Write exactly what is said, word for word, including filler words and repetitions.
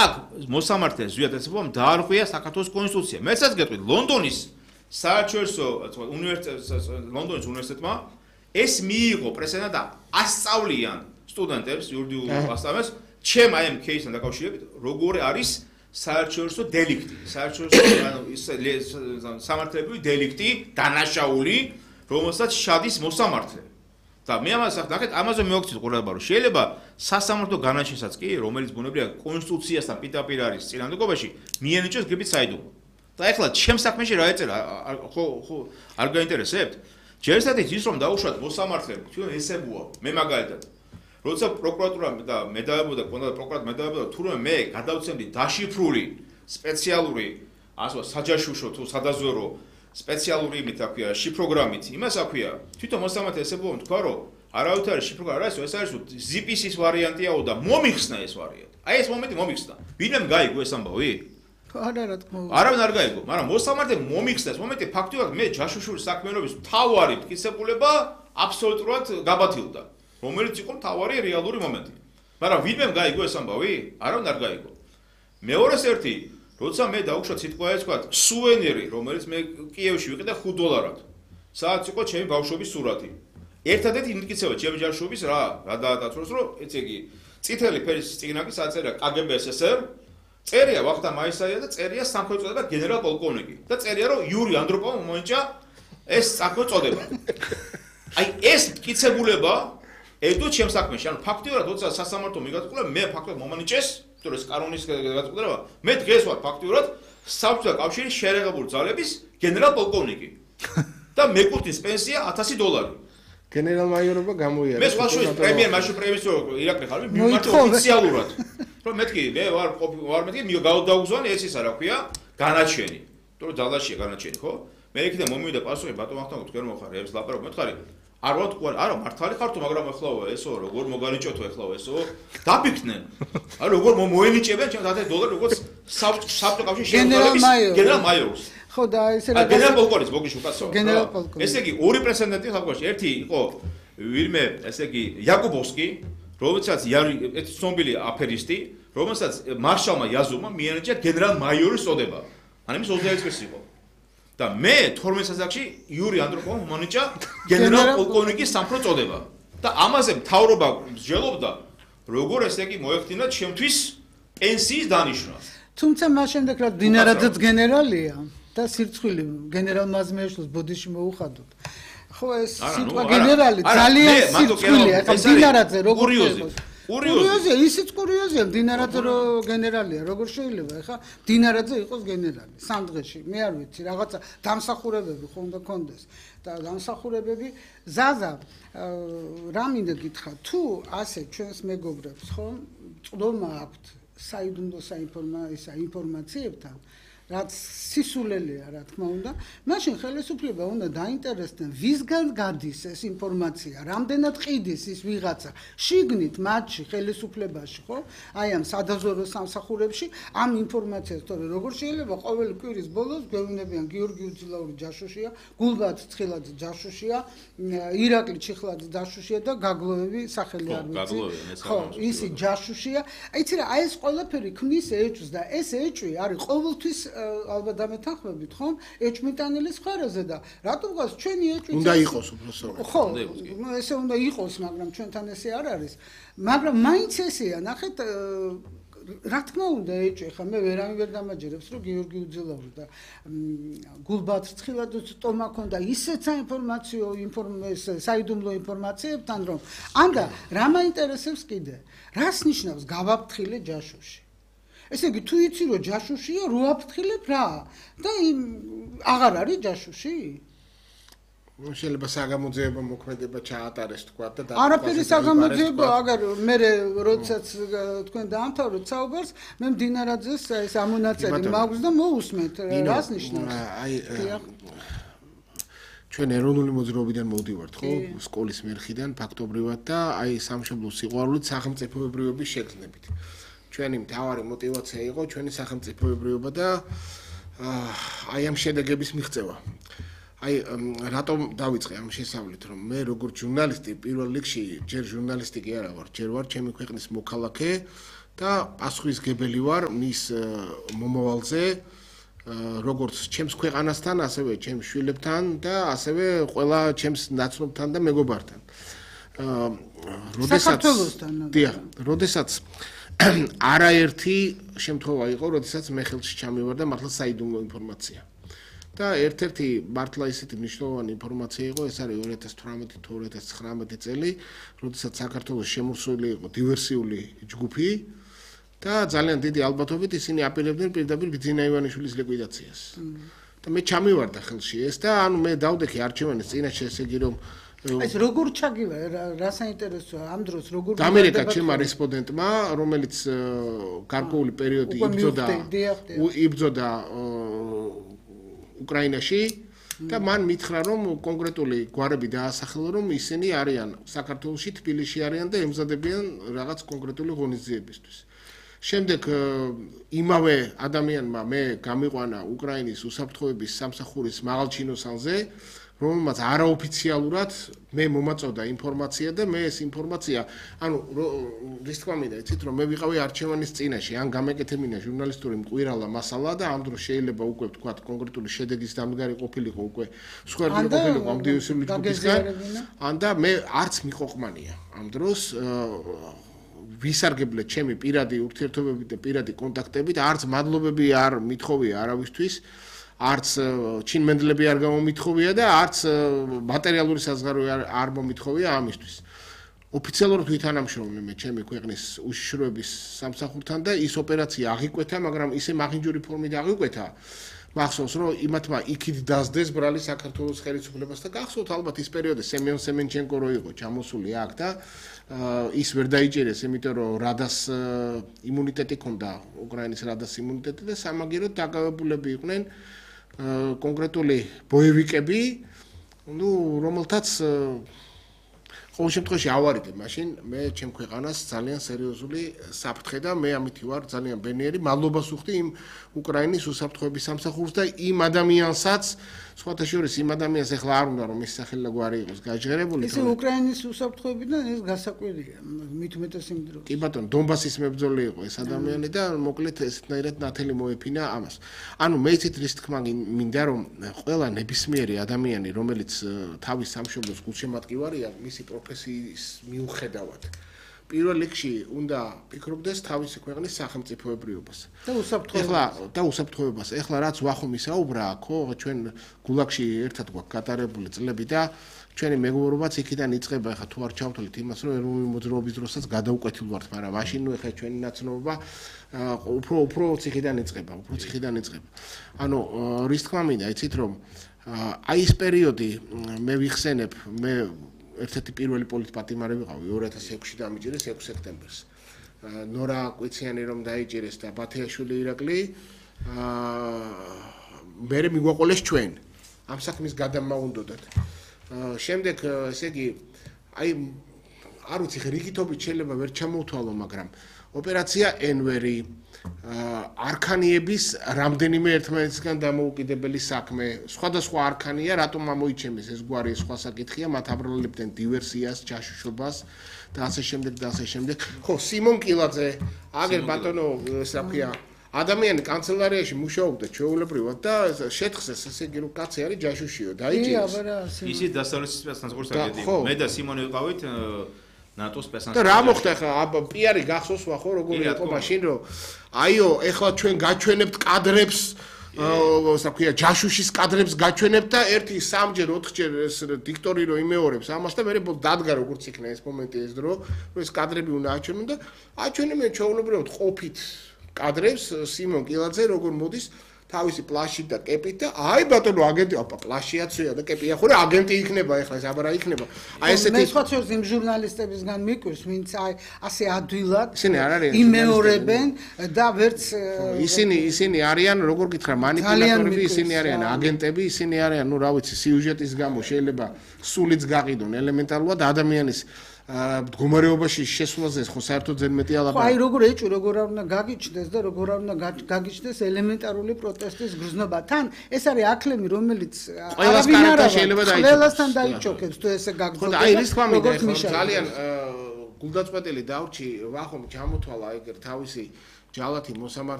აქ მოსამართლე ზვიადაცებამ დაარღვია საქართველოს კონსტიტუცია. მეცაც გეტყვით, ლონდონის საერთაშორისო უნივერსიტეტ ლონდონის უნივერსიტეტმა ეს მიიღო პრეცედენტი და ასწავლიან სტუდენტებს იურიდიულ ასწავლებს, ჩემ აი ამ кейსთან დაკავშირებით, როგორი არის საერთაშორისო დელიქტი, საერთაშორისო ანუ ის სამართლებრივი დელიქტი, დანაშაული, რომელსაც შედის მოსამართლე. და მე ამას ნახეთ, ამაზე მოგწევთ ყურადღება, რომ შეიძლება სასამართლო განაჩენსაც კი, რომელიც ბუნებრივია კონსტიტუციასთან პირდაპირ არის წინააღმდეგობაში, მიენიჭოს გებით საიდუმლო. და ეხლა ჩემ საქმეში რა ეწერა, ხო ხო არ გაინტერესებთ? ჯერისადმი ის რომ დაუშვათ მოსამართლეები, თვითონ ესებუა, მე მაგალითად. როცა პროკურატურა და მე დავებოდა, კონდა პროკურატურა მე დავებოდა, თურმე მე გადავცემდი დაშიფრული სპეციალური, ასე ვთქვათ, საჯაშუშო თუ სადაზვერო სპეციალური იმით აქვია, შიფროგრამით, იმას აქვია, თვითონ მოსამართლე ესებუა, თქვა რომ არავითარი არის შიფროგრამა, რა ეს არის ზიპისის ვარიანტიაო და მომიხსნა ეს ვარიანტი. აი ეს მომენტი მომიხსნა. ვინმე გაიგო ეს ამბავი? არა რა თქმა უნდა. არავინ არ გაიგო, მაგრამ მოსამართლე მომიხსნა ეს მომენტი ფაქტობრივად მე ჯაშუშური საქმიანობის მთავარი მტკიცებულება აბსოლუტურად გაბათილდა, რომელიც იყო მთავარი რეალური მომენტი. მაგრამ ვინმე გაიგო ეს ამბავი? არავინ არ გაიგო. მეორეს ერთი, როცა მე დავუშვათ სიტყვა ეს ვთქვათ, სუვენირი, რომელიც მე კიევში ვიყიდე ხუთ დოლარად. სადაც იყო ჩემი ბავშვობის სურათი. ერთადერთი იმტკიცება ჩემი ჯაშუშობის რა, რა დაატაცროს, რომ ეცე იგი წითელი ფერის წიგნაკი საწერია კგბ სსრ, წერია ვახტანგ მაისაია და წერია სამხედრო წოდება გენერალ პოლკოვნიკი და წერია რომ იური ანდროპოვმა მოენჭა ეს სამხედრო წოდება. აი ეს მტკიცებულება ედო ჩემს საქმეში, ანუ ფაქტიურად როცა სასამართლო მიგაწყვეტა, მე ფაქტობრივად მომანიჭეს, იმიტომ რომ ეს კანონის გაწყვეტილება, მე დღეს ვარ ფაქტიურად საბჭოთა კავშირის შეერაღებული ძალების გენერალ პოლკოვნიკი და მეკუთვნის პენსია ათასი დოლარი. გენერალ-მაიორობა გამოიარა. მე სხვაშორის პრემიერ მაშინ პრემიერ ირაკლი ხარ, მიმართო ოფიციალურად. რომ მეთქი, მე ვარ ვარ მეთქი, მიო გავდაუგზავნე ეს ისა რა ქვია, განაჩენი. იმიტომ რომ დალაშია განაჩენი, ხო? მე იქიდან მომივიდა პასუხი, ბატონ ვახტანგ თქვენ მოხარ, ეს ლაპარაკობ მეთქარი. არ ვარ თქვენ, არა, მართალი ხარ თუ, მაგრამ ეხლაო ესო, როგორ მოგანიჭოთო ეხლაო ესო? დაფიქრდნენ. აი როგორ მოენიჭებენ ჩემს ათასი დოლარი, როგორც საბჭოთა კავშირის შეერაღების გენერალ-მაიორს. ხო და ესე რა გენერალ პოლკოვნიკს მოგიშო კაცო. გენერალ პოლკოვნიკი. ესე იგი ორი პრეცედენტი ხალხში. ერთი იყო ვირმე, ესე იგი იაკუბოვსკი, რომელსაც ეს ცნობილი აფერისტი, რომელსაც მარშალმა იაზოვმა მიენიჭა გენერალ-მაიორის წოდება. ან იმის ოცდაერთი წლის იყო. და მე თორმეტ სასახში იური ანდროპოვმა მომანიჭა გენერალ პოლკოვნიკის სამხედრო წოდება. და ამაზე მთავრობა მსჯელობდა, როგორ ესე იგი მოეხდინა ჩემთვის პენსიის დანიშნა. თუმცა მას შემდეგ რა დინარაძეც გენერალია და სირცხვილი გენერალ მაზმიაშვილს ბოდიში მოუხადოთ. ხო ეს სიტყვა გენერალი ძალიან სირცხვილია. ხა დინარაძე როგორ იყოს? კურიოზია, ისიც კურიოზია, დინარაძე რო გენერალია, როგორ შეიძლება? ხა დინარაძე იყოს გენერალი სამ დღეში. მე არ ვიცი, რაღაცა დამსახურებები ხო უნდა კონდეს. და დამსახურებები ზაზა რა მინდა გითხრა, თუ ასე ჩვენს მეგობრებს ხო წვდომა აქვთ საიდუმლო საინფორმაციებთან, რაც სისულელია, რა თქმა უნდა, მაშინ ხელისუფლება უნდა დაინტერესდნენ, ვისგან გადის ეს ინფორმაცია, რამდენად ყიდის ის ვიღაცა შიგნით მათში ხელისუფლებაში, ხო? აი ამ სადაზვერო სამსახურებში ამ ინფორმაციას, თორე როგორ შეიძლება ყოველი კვირის ბოლოს გვეუბნებიან გიორგი უძილაური ჯაშუშია, გულბათ ცხილაძე ჯაშუშია, ირაკლი ჩიხლაძე ჯაშუშია და გაგლოვები სახელი არ ვიცი. ხო, ისი ჯაშუშია. იცი რა, აი ეს ყველაფერი ქმნის ეჭვს და ეს ეჭვი არის ყოველთვის ალბათ დამეთანხმებით, ხომ? ეჭვმიტანილის მხარეზე და რატომ გას ჩვენი ეჭვი უნდა იყოს უბრალოდ. ხო, ესე უნდა იყოს, მაგრამ ჩვენთან ესე არ არის. მაგრამ მაინც ესეა, ნახეთ, რა თქმა უნდა ეჭვი, ხა მე ვერავინ ვერ დამაჯერებს, რომ გიორგი უძილაური და გულბათ ცხილაძე ტომა ქონდა ისეთ საინფორმაციო საიდუმლო ინფორმაციებთან, რომ ანდა რა მაინტერესებს კიდე? რას ნიშნავს გავაფრთხილე ჯაშუში? ესე იგი თუ იცი რომ ჯაშუშია, რო აფრთხილებ რა? და იმ აღარ არის ჯაშუში? შეიძლება საგამოძიებო მოქმედება ჩაატარეს თქვა და არაფერი საგამოძიებო, აგარ მე როდესაც თქვენ დაამთავრეთ საუბარს, მე მდინარაძეს ეს ამონაწერი მაქვს და მოусმენთ რას ნიშნავს? აი ჩვენ ეროვნული მოძრაობიდან მოვდივართ, ხო? სკოლის მერხიდან ფაქტობრივად და აი სამშობლოს სიყვარულით სახელმწიფოებრიობის შეგრძნებით. ჩვენი მთავარი мотиваცია იყო ჩვენი სახელმწიფოებრიობა და აი ამ შედეგების მიღწევა. აი რატომ დავიწყე ამ შესავლით, რომ მე როგორც ჟურნალისტი პირველ რიგში ჯერ ჟურნალისტი კი არა ვარ, ჯერ ვარ ჩემი ქვეყნის მოქალაქე და პასუხისგებელი ვარ მის მომავალზე, როგორც ჩემს ქვეყანასთან, ასევე ჩემს შვილებთან და ასევე ყველა ჩემს ნაცნობთან და მეგობართან. როდესაც დიახ, როდესაც არაერთი შემთხვევა იყო, როდესაც მე ხელში ჩამივარ და მართლა საიდუმლო ინფორმაცია. და ერთ-ერთი მართლა ისეთი მნიშვნელოვანი ინფორმაცია იყო, ეს არის ორი ათას თვრამეტი თუ ორი ათას ცხრამეტი წელი, როდესაც საქართველოს შემოსული იყო დივერსიული ჯგუფი და ძალიან დიდი ალბათობით ისინი აპირებდნენ პირდაპირ ბიძინა ივანიშვილის ლიკვიდაციას. და მე ჩამივარდა ხელში ეს და ანუ მე დავდექი არჩევანის წინაშე, ესე იგი რომ ეს როგორ ჩაგივა რა საინტერესოა ამ დროს როგორ ამერიკა ჩემმა რესპონდენტმა რომელიც გარკვეული პერიოდი იბრძოდა იბრძოდა უკრაინაში და მან მითხრა რომ კონკრეტული გვარები დაასახელა რომ ისინი არიან საქართველოში თბილისში არიან და ემზადებიან რაღაც კონკრეტული ღონისძიებისთვის. შემდეგ იმავე ადამიანმა მე გამიყვანა უკრაინის უსაფრთხოების სამსახურის მაღალჩინოსანზე რომელმაც არაოფიციალურად მე მომაწოდა ინფორმაცია და მე ეს ინფორმაცია, ანუ რის თქმა უნდა, იცით რომ მე ვიყავი არჩევანის წინაშე, ან გამეკეთებინა ჟურნალისტური მყვირალა მასალა და ამ დროს შეიძლება უკვე ვთქვათ კონკრეტული შედეგის დამდგარი ყოფილიყო უკვე სხვაერთი ყოფილიყო ამ დივერსიული ჯგუფისგან, ან და მე არც მიყვყმანია ამ დროს ვისარგებლე ჩემი პირადი ურთიერთობებით და პირადი კონტაქტებით, არც მადლობები არ მithოვია არავისთვის. არც ჩინმენდლები არ გამომithოვია და არც მატერიალური საზღარო არ მომithოვია ამისთვის. ოფიციალურად ვითანამშრომლე მე ჩემი ქვეყნის უშიშროების სამსახურთან და ის ოპერაცია აღიკვეთა, მაგრამ ისე მაღინჯური ფორმით აღიკვეთა. მახსოვს რომ იმათმა იქით დასდეს ბრალი საქართველოს ხელისუფლებას და გახსოვთ ალბათ ის პერიოდი სემენ სემენჩენკო რო იყო ჩამოსული აქ და ის ვერ დაიჭერეს, იმიტომ რომ რადას იმუნიტეტი ჰქონდა, უკრაინის რადას იმუნიტეტი და სამაგიეროდ დაკავებულები იყვნენ კონკრეტული ბოევიკები, ну, რომელთაც ყოველ შემთხვევაში ავარიდე, მაშინ მე ჩემ ქვეყანას ძალიან სერიოზული საფრთხე და მე ამითი ვარ ძალიან ბენიერი, მადლობას ვუხდი იმ უკრაინის უსაფრთხოების სამსახურს და იმ ადამიანსაც, სხვათა შორის იმ ადამიანს ეხლა არ უნდა რომ ის სახელი და გვარი იყოს გაჟღერებული. ეს უკრაინის უსაფრთხოებიდან ეს გასაკვირია, მით უმეტეს იმ დროს. კი ბატონო, დონბასის მებრძოლი იყო ეს ადამიანი და მოკლედ ესეთნაირად ნათელი მოეფინა ამას. ანუ მე იცით რის თქმა მინდა რომ ყველა ნებისმიერი ადამიანი, რომელიც თავის სამშობლოს გულშემატკივარია, მისი პროფესიის მიუხედავად პირველ რიგში უნდა ფიქრობდეს თავისი ქვეყნის სახელმწიფოებრიობას და უსაფრთხოებას. ეხლა და უსაფრთხოებას. ეხლა რაც ვახომ ისაუბრა, ხო, ჩვენ გულაგში ერთად გვაქვს გატარებული წლები და ჩვენი მეგობრობაც იქიდან იწყება. ეხლა თუ არ ჩავთვლით იმას, რომ ეროვნული მოძრაობის დროსაც გადაუკვეთილ ვართ, მაგრამ მაშინ ნუ ეხლა ჩვენი ნაცნობა უფრო უფრო ციხიდან იწყება, უფრო ციხიდან იწყება. ანუ რის თქმა მინდა, იცით რომ აი ეს პერიოდი მე ვიხსენებ, მე ერთ-ერთი პირველი პოლიტპატიმარი ვიყავი ორი ათას ექვსში დამიჭირეს ექვსი სექტემბერს. ნორა კვიციანი რომ დაიჭირეს და ბათეაშვილი ირაკლი მე მიგვაყოლეს ჩვენ ამ საქმის გადამაუნდოდათ. შემდეგ ესე იგი აი არ ვიცი რიგითობით შეიძლება ვერ ჩამოვთვალო, მაგრამ ოპერაცია ენვერი არქანიების რამდენიმე ერთმანეთისგან დამოუკიდებელი საქმე, სხვადასხვა არქანია, რატომ ამოიჩემეს ეს გვარი სხვა საკითხია, მათ აბრალებდნენ დივერსიას, ჯაშუშობას და ასე შემდეგ და ასე შემდეგ. ხო, სიმონ კილაძე, აგერ ბატონო, რა ქვია, ადამიანი კანცელარიაში მუშაობდა ჩვეულებრივად და შეთხსეს, ესე იგი რომ კაცი არის ჯაშუშიო, დაიჭირეს. ისიც დასავლეთის სპეცნაზღურს აგენტი. მე და სიმონი ვიყავით ნატოს სპეცნაზ. და რა მოხდა ხა პიარი გახსოვს ხო როგორი იყო მაშინ რომ აიო ეხლა ჩვენ გაჩვენებთ კადრებს ასე ქვია ჯაშუშის კადრებს გაჩვენებთ და ერთი სამჯერ ოთხჯერ ეს დიქტორი რო იმეორებს ამას და მე დადგა როგორც იქნა ეს მომენტი ეს დრო რომ ეს კადრები უნდა აჩვენონ და აჩვენებენ ჩვეულებრივად ყოფით კადრებს სიმონ კილაძე როგორ მოდის თავისი პლაშით და კეპით და აი ბატონო აგენტი აპა პლაშიაცია და კეპია ხო რა აგენტი იქნება ეხლა ეს აბარა იქნება აი ესეთი მე სხვა შორის იმ ჟურნალისტებისგან მიკვირს ვინც აი ასე ადვილად იმეორებენ და ვერც ისინი ისინი არიან როგორ გითხრა მანიპულატორები ისინი არიან აგენტები ისინი არიან ნუ რა ვიცი სიუჟეტის გამო შეიძლება სულიც გაყიდონ ელემენტარულად ადამიანის მდგომარეობაში შესვლაზე ხო საერთოდ ძენ მეტი ალაბა. აი როგორ ეჭვი როგორ არ უნდა გაგიჩნდეს და როგორ არ უნდა გაგიჩნდეს ელემენტარული პროტესტის გრძნობა. თან ეს არის აკლემი რომელიც ყველასთან შეიძლება დაიჭროს. ყველასთან დაიჭოქებს თუ ესე გაგრძელდება. ხო და აი რის თქმა მინდა ძალიან გულდაწყვეტილი დავრჩი ვახომ ჩამოთვალა ეგერ თავისი ჯალათი მოსამართლე